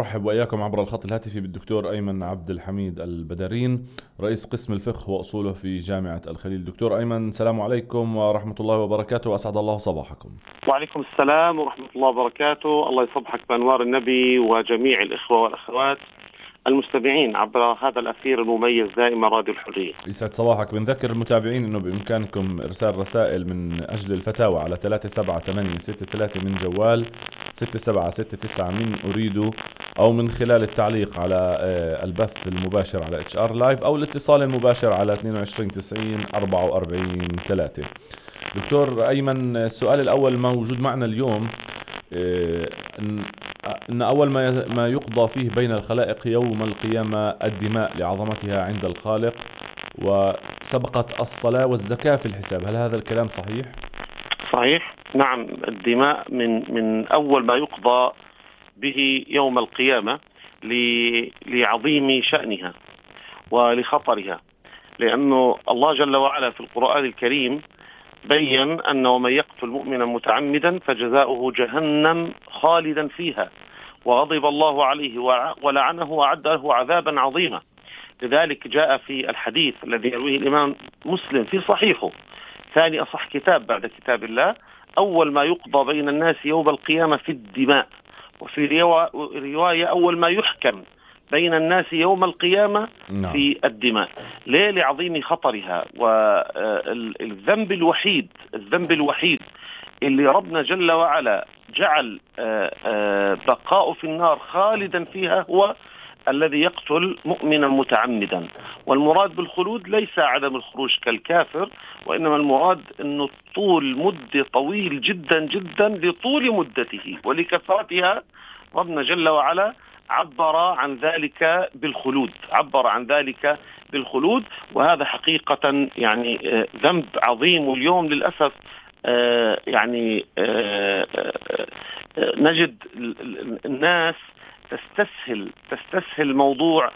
نرحب وإياكم عبر الخط الهاتفي بالدكتور أيمن عبد الحميد البدرين، رئيس قسم الفقه وأصوله في جامعة الخليل. دكتور أيمن، السلام عليكم ورحمة الله وبركاته، وأسعد الله صباحكم. وعليكم السلام ورحمة الله وبركاته. الله يصبحك بأنوار النبي وجميع الإخوة والأخوات المستمعين عبر هذا الأثير المميز دائما راديو الحرية. يسعد صباحك. بنذكر المتابعين أنه بإمكانكم إرسال رسائل من أجل الفتاوى على 37863 من جوال 6769 من أريدو، أو من خلال التعليق على البث المباشر على HR Live، أو الاتصال المباشر على 22 90 44 3. دكتور أيمن، السؤال الأول موجود معنا اليوم، إن أول ما يقضى فيه بين الخلائق يوم القيامة الدماء لعظمتها عند الخالق، وسبقت الصلاة والزكاة في الحساب. هل هذا الكلام صحيح؟ صحيح، نعم. الدماء من أول ما يقضى به يوم القيامة لعظيم شأنها ولخطرها، لأنه الله جل وعلا في القرآن الكريم بيّن أنه من يقتل مؤمنا متعمدا فجزاؤه جهنم خالدا فيها وغضب الله عليه ولعنه وأعد له عذابا عظيما. لذلك جاء في الحديث الذي يرويه الإمام مسلم في صحيحه، ثاني أصح كتاب بعد كتاب الله، أول ما يقضى بين الناس يوم القيامة في الدماء، وفي رواية أول ما يحكم بين الناس يوم القيامة في الدماء. ليه؟ لعظيم خطرها. والذنب الوحيد اللي ربنا جل وعلا جعل بقاء في النار خالدا فيها هو الذي يقتل مؤمنا متعمدا. والمراد بالخلود ليس عدم الخروج كالكافر، وإنما المراد أنه طول مدة طويل جدا جدا لطول مدته ولكثرتها. ربنا جل وعلا عبر عن ذلك بالخلود، وهذا حقيقة يعني ذنب عظيم. واليوم للأسف نجد الناس تستسهل موضوع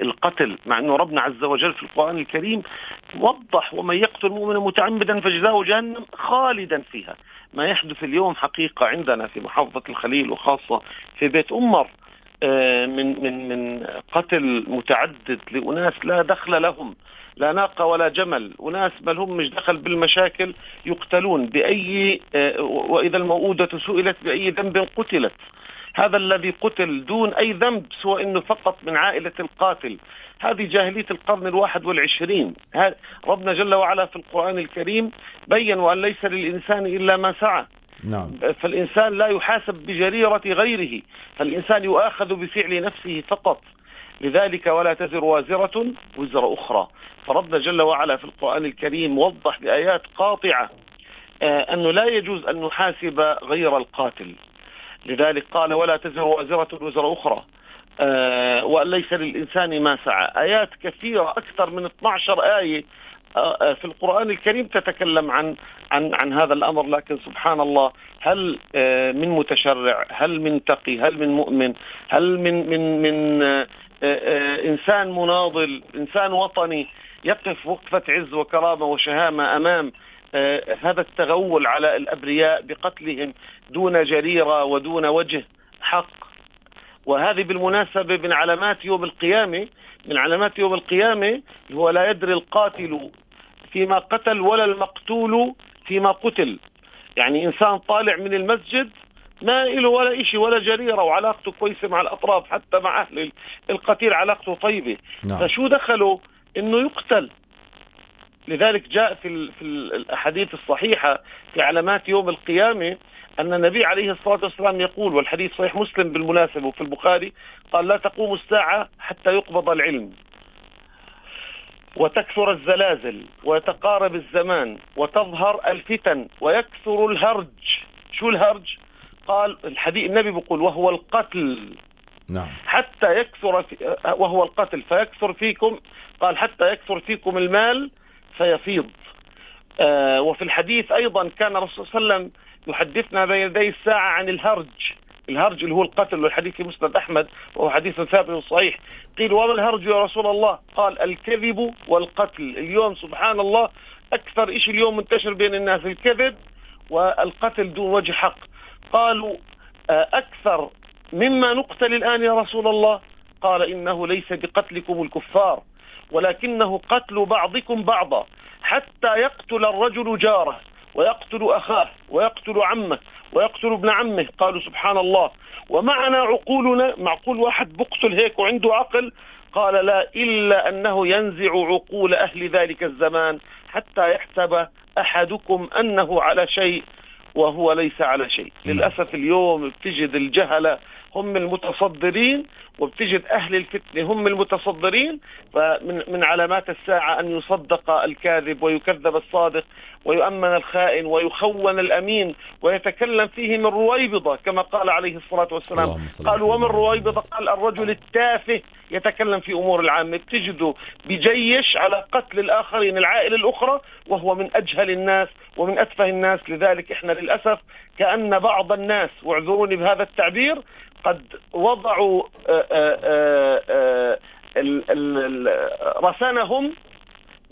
القتل، مع أنه ربنا عز وجل في القرآن الكريم وضح: ومن يقتل مؤمنا متعمدا فجزاؤه جهنم خالدا فيها. ما يحدث اليوم حقيقة عندنا في محافظة الخليل وخاصة في بيت أمر من قتل متعدد لأناس لا دخل لهم، لا ناقة ولا جمل، وناس بل هم مش دخل بالمشاكل يقتلون بأي وإذا الموءودة سئلت بأي ذنب قتلت. هذا الذي قتل دون أي ذنب سوى أنه فقط من عائلة القاتل. هذه جاهلية القرن 21. ربنا جل وعلا في القرآن الكريم بيّن: وأن ليس للإنسان إلا ما سعى. نعم. فالإنسان لا يحاسب بجريرة غيره، فالإنسان يؤاخذ بفعل نفسه فقط. لذلك ولا تزر وازرة وزر أخرى. فربنا جل وعلا في القرآن الكريم وضح بآيات قاطعة أنه لا يجوز أن نحاسب غير القاتل. لذلك قال: ولا تزر وازرة وزر أخرى، وأن ليس للإنسان ما سعى. آيات كثيرة، أكثر من 12 آية في القرآن الكريم تتكلم عن هذا الأمر. لكن سبحان الله، هل من متشرع، هل من تقي، هل من مؤمن، هل من إنسان مناضل، إنسان وطني يقف وقفة عز وكرامة وشهامة أمام هذا التغول على الأبرياء بقتلهم دون جريرة ودون وجه حق؟ وهذه بالمناسبة من علامات يوم القيامة هو لا يدري القاتل فيما قتل ولا المقتول فيما قتل. يعني إنسان طالع من المسجد ما إله ولا إشي ولا جريرة، وعلاقته كويسة مع الأطراف، حتى مع أهل القتيل علاقته طيبة. فشو دخله إنه يقتل؟ لذلك جاء في الأحاديث الصحيحة في علامات يوم القيامة أن النبي عليه الصلاة والسلام يقول، والحديث صحيح مسلم بالمناسبة وفي البخاري، قال: لا تقوم الساعة حتى يقبض العلم وتكثر الزلازل ويتقارب الزمان وتظهر الفتن ويكثر الهرج. شو الهرج؟ قال الحديث النبي بيقول: وهو القتل. نعم. حتى يكثر وهو القتل فيكثر فيكم، قال: حتى يكثر فيكم المال فيفيض. وفي الحديث أيضا كان الرسول صلى الله عليه وسلم يحدثنا بين يدي الساعة عن الهرج اللي هو القتل، والحديث في مسند أحمد وهو حديث ثابت وصحيح. قيل: وما الهرج يا رسول الله؟ قال: الكذب والقتل. اليوم سبحان الله أكثر إشي اليوم منتشر بين الناس الكذب والقتل دون وجه حق. قالوا أكثر مما نقتل الآن يا رسول الله؟ قال إنه ليس بقتلكم الكفار، ولكنه قتل بعضكم بعضا، حتى يقتل الرجل جاره ويقتل أخاه ويقتل عمه ويقتل ابن عمه. قالوا سبحان الله، ومعنا عقولنا، معقول واحد بقتل هيك وعنده عقل؟ قال لا، إلا أنه ينزع عقول أهل ذلك الزمان حتى يحسب أحدكم أنه على شيء وهو ليس على شيء. للأسف اليوم بتجد الجهلة هم المتصدرين، وبتجد أهل الفتنة هم المتصدرين. فمن علامات الساعة أن يصدق الكاذب ويكذب الصادق ويؤمن الخائن ويخون الأمين ويتكلم فيه من رويبضة، كما قال عليه الصلاة والسلام. قالوا ومن رويبضة؟ قال الرجل التافه يتكلم في أمور العامة. بتجده بجيش على قتل الآخرين، العائلة الأخرى، وهو من أجهل الناس ومن أتفه الناس. لذلك إحنا للأسف كأن بعض الناس، واعذروني بهذا التعبير، قد وضعوا رسانهم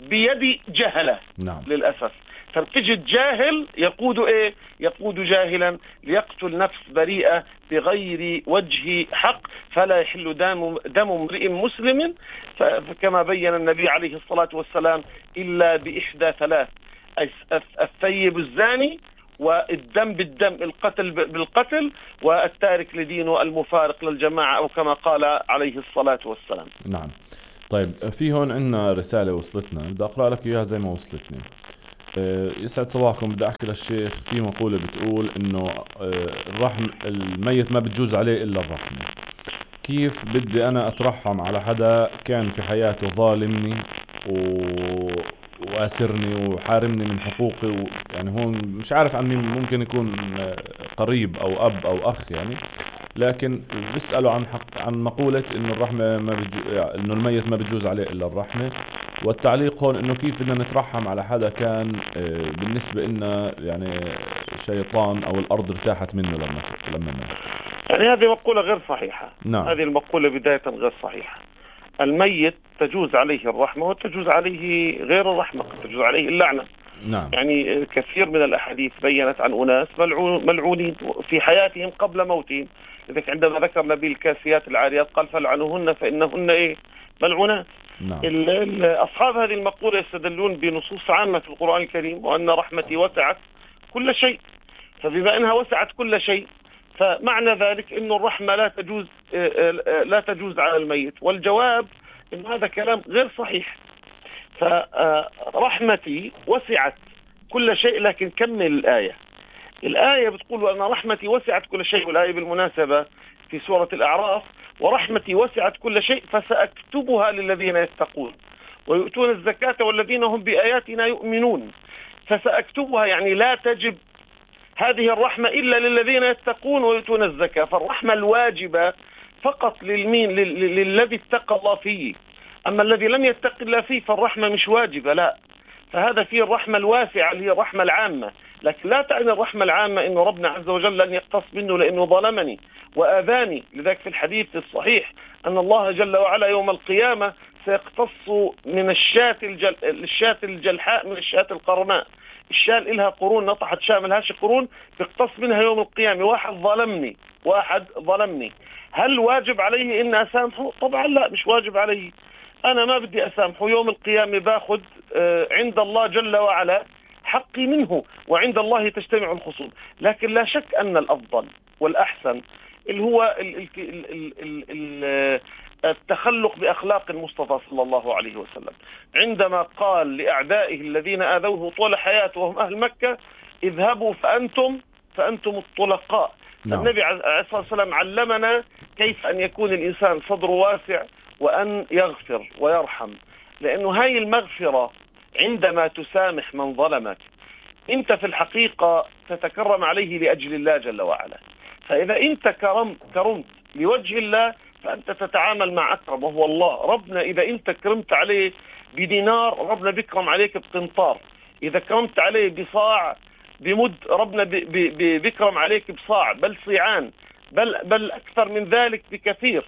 بيد جهلة. نعم. للأسف فبتجد جاهل يقود إيه؟ يقود جاهلا ليقتل نفس بريئة بغير وجه حق، فلا يحل دم امرئ مسلم، فكما بين النبي عليه الصلاة والسلام إلا بإحدى ثلاث: الثيب الزاني، والدم بالدم، القتل بالقتل، والتارك لدينه المفارق للجماعة، أو كما قال عليه الصلاة والسلام. نعم. طيب، في هون عندنا رسالة وصلتنا، بدي أقرأ لك إياها زي ما وصلتني. يسعد صباحكم. بدي أحكي للشيخ، في مقولة بتقول إنه الرحم الميت ما بتجوز عليه إلا الرحمة. كيف بدي أنا أترحم على حدا كان في حياته ظالمني وآسرني وحارمني من حقوقي يعني هون مش عارف عن مين، ممكن يكون قريب أو أب أو أخ يعني، لكن بيسألوا عن مقولة إنه الرحمة إنه الميت ما بتجوز عليه إلا الرحمة. والتعليق هون إنه كيف بدنا نترحم على حدا كان بالنسبة لنا يعني شيطان، أو الأرض ارتاحت منه لما مات. يعني هذه مقولة غير صحيحة. نعم. هذه المقولة بداية غير صحيحة. الميت تجوز عليه الرحمة وتجوز عليه غير الرحمة، قد تجوز عليه اللعنة. نعم. يعني كثير من الأحاديث بيّنت عن أناس ملعونين في حياتهم قبل موتهم. لذلك عندما ذكر النبي الكاسيات العاريات قال فلعنوهن فإنهن إيه؟ ملعونات. نعم. أصحاب هذه المقولة يستدلون بنصوص عامة في القرآن الكريم، وأن رحمتي وسعت كل شيء. فبما أنها وسعت كل شيء، فمعنى ذلك أن الرحمة لا تجوز على الميت. والجواب أن هذا كلام غير صحيح. فرحمتي وسعت كل شيء، لكن كمل الآية بتقول أن رحمتي وسعت كل شيء. والآية بالمناسبة في سورة الأعراف: ورحمتي وسعت كل شيء فسأكتبها للذين يتقون ويؤتون الزكاة والذين هم بآياتنا يؤمنون. فسأكتبها يعني لا تجب هذه الرحمة إلا للذين يتقون ويؤتون الزكاة. فالرحمة الواجبة فقط للذي اتقى الله فيه، أما الذي لم يتق الله فيه فالرحمة مش واجبة، لا. فهذا فيه الرحمة الواسعة اللي هي الرحمة العامة، لكن لا تعني الرحمة العامة إنه ربنا عز وجل لن يقتص منه لأنه ظلمني وآذاني. لذلك في الحديث الصحيح أن الله جل وعلا يوم القيامة سيقتص من الشاة الجلحاء من الشاة القرناء. الشاة إلها قرون نطحت شاملهاش قرون، بيقتص منها يوم القيامة. واحد ظلمني، هل واجب عليه إن أسامحه؟ طبعا لا، مش واجب عليه. أنا ما بدي أسامحه، يوم القيامة باخد عند الله جل وعلا حقي منه، وعند الله تجتمع الخصوم. لكن لا شك أن الأفضل والأحسن اللي هو التخلق بأخلاق المصطفى صلى الله عليه وسلم، عندما قال لأعدائه الذين آذوه طول حياته وهم أهل مكة: اذهبوا فأنتم الطلقاء. نعم. النبي عليه الصلاة والسلام علمنا كيف أن يكون الإنسان صدره واسع وأن يغفر ويرحم، لأنه هاي المغفرة عندما تسامح من ظلمك أنت في الحقيقة تتكرم عليه لأجل الله جل وعلا. فإذا أنت كرمت لوجه الله فأنت تتعامل مع أكرم وهو الله. ربنا إذا أنت كرمت عليه بدينار ربنا بيكرم عليك بقنطار، إذا كرمت عليه بصاع بمد ربنا بيكرم عليك بصاع، بل صيعان، بل أكثر من ذلك بكثير.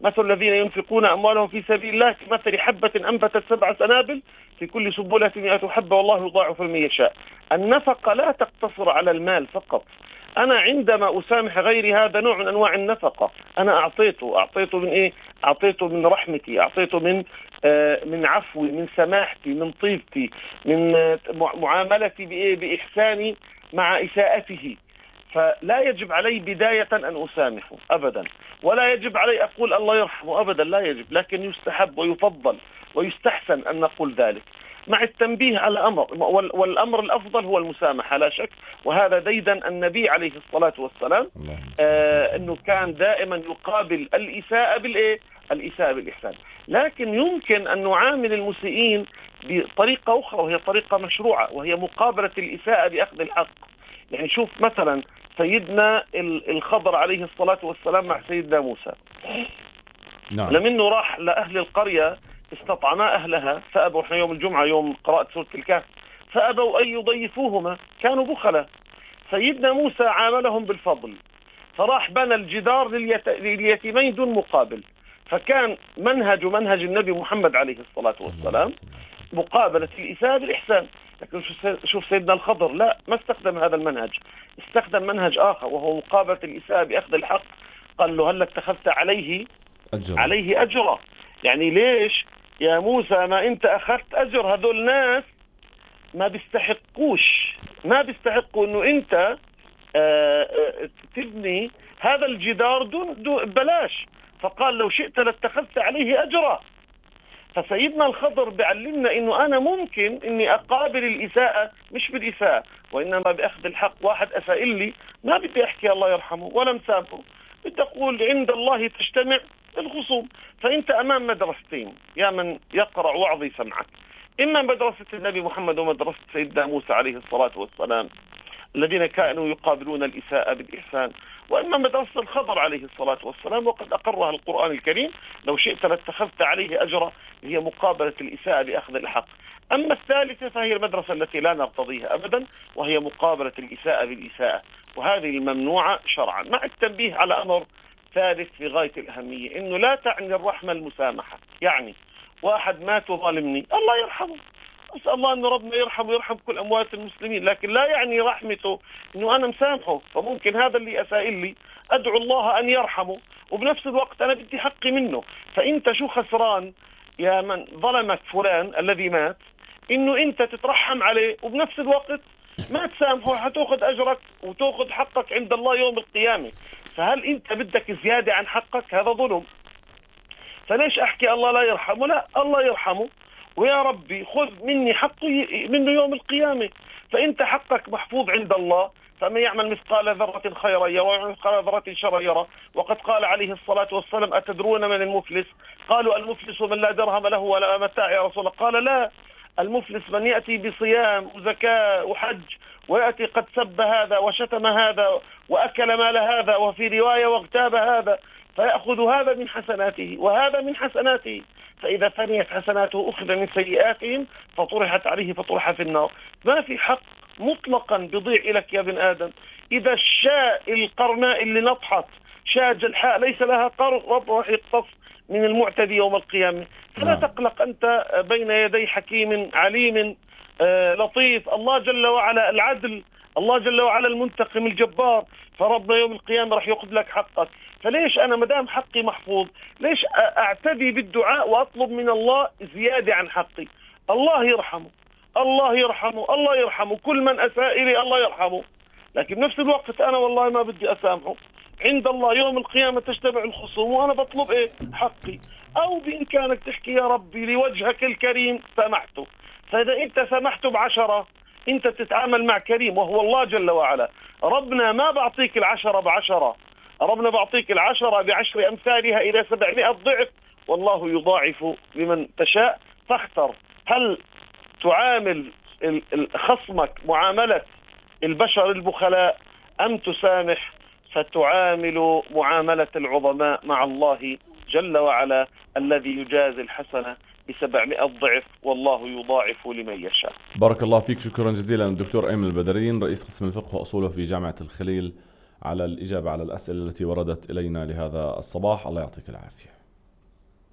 مثل الذين ينفقون أموالهم في سبيل الله كمثل حبة أنبتت 7 سنابل في كل سنبلة 100 حبة والله يضاعف لمن يشاء. النفقة لا تقتصر على المال فقط، أنا عندما أسامح غيري هذا نوع من أنواع النفقة. أنا أعطيته من إيه؟ أعطيته من رحمتي، أعطيته من عفوي، من سماحتي، من طيبتي، من معاملتي بإحساني مع إساءته. فلا يجب علي بداية أن أسامحه أبدا، ولا يجب علي أقول الله يرحمه أبدا، لا يجب، لكن يستحب ويفضل ويستحسن أن نقول ذلك مع التنبيه على أمر، والأمر الأفضل هو المسامحة لا شك. وهذا ديدا النبي عليه الصلاة والسلام، أنه كان دائما يقابل الإساءة بالإيه؟ الإساءة بالإحسان. لكن يمكن أن نعامل المسيئين بطريقة أخرى، وهي طريقة مشروعة، وهي مقابلة الإساءة بأخذ الحق. يعني شوف مثلا سيدنا الخضر عليه الصلاة والسلام مع سيدنا موسى، نعم. لمنه راح لأهل القرية استطعما أهلها فأبوا، احنا يوم الجمعة يوم قراءة سورة الكهف، فأبوا أن يضيفوهما، كانوا بخلة. سيدنا موسى عاملهم بالفضل، فراح بنى الجدار لليتيمين دون مقابل. فكان منهج النبي محمد عليه الصلاة والسلام مقابلة الإساءة بالإحسان. لكن شوف سيدنا الخضر لا، ما استخدم هذا المنهج، استخدم منهج آخر، وهو مقابلة الإساءة بأخذ الحق. قال له هل اتخذت عليه أجرا؟ يعني ليش يا موسى ما أنت أخذت أجر؟ هذول ناس ما بيستحقوا أنه أنت تبني هذا الجدار دون بلاش. فقال لو شئت لاتخذت عليه أجرا. فسيدنا الخضر بيعلمنا انه انا ممكن اني اقابل الاساءة مش بالاساءة، وانما باخذ الحق. واحد اساء لي ما بدي احكي الله يرحمه ولا مسامحه، بدي اقول عند الله تجتمع الخصوم. فانت امام مدرستين يا من يقرأ وعظي سمعك، اما مدرسة النبي محمد ومدرسة سيدنا موسى عليه الصلاة والسلام الذين كانوا يقابلون الإساءة بالإحسان، وإما مدرسة الخضر عليه الصلاة والسلام وقد أقرها القرآن الكريم لو شئت لاتخذت عليه أجرا، هي مقابلة الإساءة بأخذ الحق. أما الثالثة فهي المدرسة التي لا نرتضيها أبدا، وهي مقابلة الإساءة بالإساءة، وهذه الممنوعة شرعا. مع التنبيه على أمر ثالث في غاية الأهمية، إنه لا تعني الرحمة المسامحة. يعني واحد مات وظالمني الله يرحمه، أسأل الله أن ربنا يرحم كل أموات المسلمين، لكن لا يعني رحمته أنه أنا مسامحه. فممكن هذا اللي أساء لي أدعو الله أن يرحمه، وبنفس الوقت أنا بدي حقي منه. فأنت شو خسران يا من ظلمك فلان الذي مات، أنه أنت تترحم عليه وبنفس الوقت ما تسامحه، حتأخذ أجرك وتأخذ حقك عند الله يوم القيامة. فهل أنت بدك زيادة عن حقك؟ هذا ظلم. فليش أحكي الله لا يرحمه؟ لا، الله يرحمه، ويا ربي خذ مني حقي منه يوم القيامة. فأنت حقك محفوظ عند الله، فمن يعمل مثقال ذرة خيرا يرى ويعمل مثقال ذرة شرا يرى. وقد قال عليه الصلاة والسلام أتدرون من المفلس؟ قالوا المفلس من لا درهم له ولا متاع يا رسول الله. قال لا، المفلس من يأتي بصيام وزكاة وحج ويأتي قد سب هذا وشتم هذا وأكل مال هذا، وفي رواية واغتاب هذا، فيأخذ هذا من حسناته وهذا من حسناته، فإذا فنيت حسناته أخذ من سيئاتهم فطرحت عليه فطرح في النار. ما في حق مطلقا بضيع لك يا ابن آدم. إذا الشاء القرناء اللي نطحت شاة جلحاء ليس لها قرن راح يقتص من المعتدي يوم القيامة. فلا تقلق، أنت بين يدي حكيم عليم لطيف. الله جل وعلا العدل، الله جل وعلا المنتقم الجبار، فربنا يوم القيامة راح يأخذ لك حقك. فليش أنا مدام حقي محفوظ ليش أعتدي بالدعاء وأطلب من الله زيادة عن حقي؟ الله يرحمه، الله يرحمه، الله يرحمه، كل من أساء لي الله يرحمه. لكن بنفس الوقت أنا والله ما بدي أسامحه، عند الله يوم القيامة تجتمع الخصوم وأنا بطلب إيه؟ حقي. أو بإمكانك تحكي يا ربي لوجهك الكريم سامحته. فإذا أنت سامحته ب10 أنت تتعامل مع كريم وهو الله جل وعلا. ربنا ما بعطيك 10 ب10، ربنا بعطيك 10 ب10 أمثالها إلى 700 ضعف، والله يضاعف لمن تشاء. فاختر، هل تعامل خصمك معاملة البشر البخلاء أم تسامح فتعامل معاملة العظماء مع الله جل وعلا الذي يجازي الحسنة ب700 ضعف، والله يضاعف لمن يشاء. بارك الله فيك، شكرا جزيلا الدكتور أيمن البدرين، رئيس قسم الفقه وأصوله في جامعة الخليل، على الإجابة على الأسئلة التي وردت إلينا لهذا الصباح. الله يعطيك العافية.